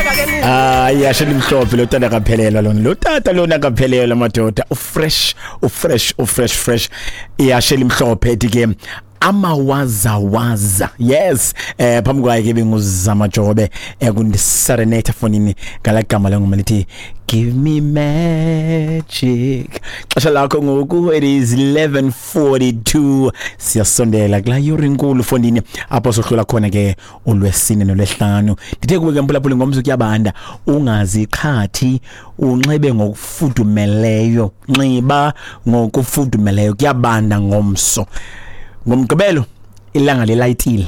Hayi, yasho limhlophe lo tata, akaphelelwa lona lo tata lona, akaphelelwa madoda. Ufresh, ufresh, ufresh fresh. Iyashe limhlophe ethi ke amawazawaza. Yes, phambi kwaye ke benguzama Jobe ekundiserenate fonini ngala gama lengoma lithi "Give Me Magic". Xesha lakho ngoku, it is 11:42. Siyasondela kulaa yure inkulu fondini apho sohlola khona ke ulwesine nolwesihlanu. Ndithe kuwe ke mphulaphuli, ngomso kuyabanda, ungaziqhathi, unxibe ngokufudumeleyo, nxiba ngokufudumeleyo, kuyabanda ngomso. Ngomgqibelo ilanga lilayitile,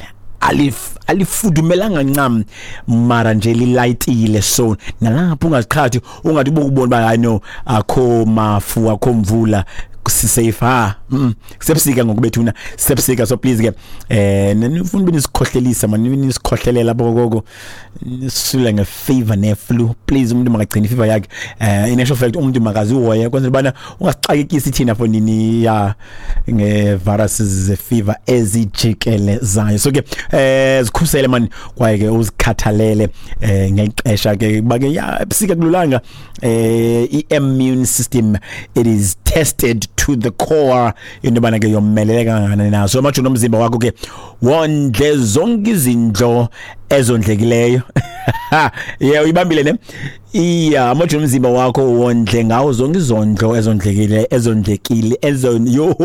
alifudumelanga ncam mara nje lilayitile, so nalapho ungaziqhathi, ungathi ubukubona uba hayi no, akho mafu, akho mvula, sisafe. Ha, kusebusika ngoku bethuna, sebusika. So please ke, nifuna ube nisikhohlelisa mani, nisikhohlelela apho koko nisula ngefever neflu. Please, umuntu makagcine ifever yakhe. In actual fact, umuntu makazihoye kwenzela ubana ungasixakekisi thina fonini ya ngeviruses zefever ezijikelezayo. So ke zikhusele mani, kwaye ke uzikhathalele ngexesha ke kuba ke ya ebusika kululanga. I-immune system, it is tested to the core into yobana ke yomelele kangakanani na. So amajoni omzimba wakho ke wondle zonke izindlo ezondlekileyo. Yeah, uyibambile ne? Iya, amajoni omzimba wakho wondle ngawo zonke izondlo ezondlekile, ezondlekile, ezon yo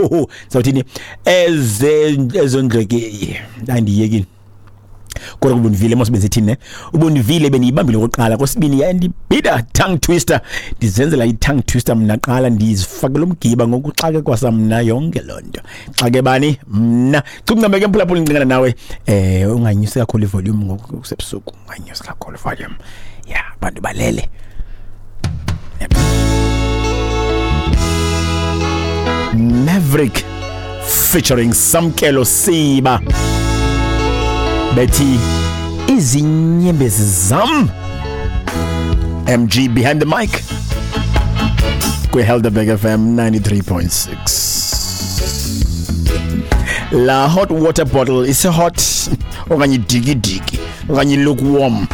sawuthini, eze ezondlekile. Andiyekile kodwa ubundivile mos benzithini ne? Ubundivile, bendiyibambile okokuqala, kwesibini yandibhida, tongue twister. Ndizenzela i-tongue twister mna qala, ndizifakela umgiba ngoku xake kwasamna yonke loo nto. Xake bani mna cukuncameke mphulaphula, ndicingana nawe. Unganyusi kakhulu ivolume ngoku kusebusuku, unganyusi kakhulu ivolume ya abantu balele. Maverick featuring Samkelo Siba bethi "Izinyembezi Zam". MG behind the mic kwi-Helderberg FM 93.6. La hot water bottle ise hot okanye idikidiki okanye lukewarm?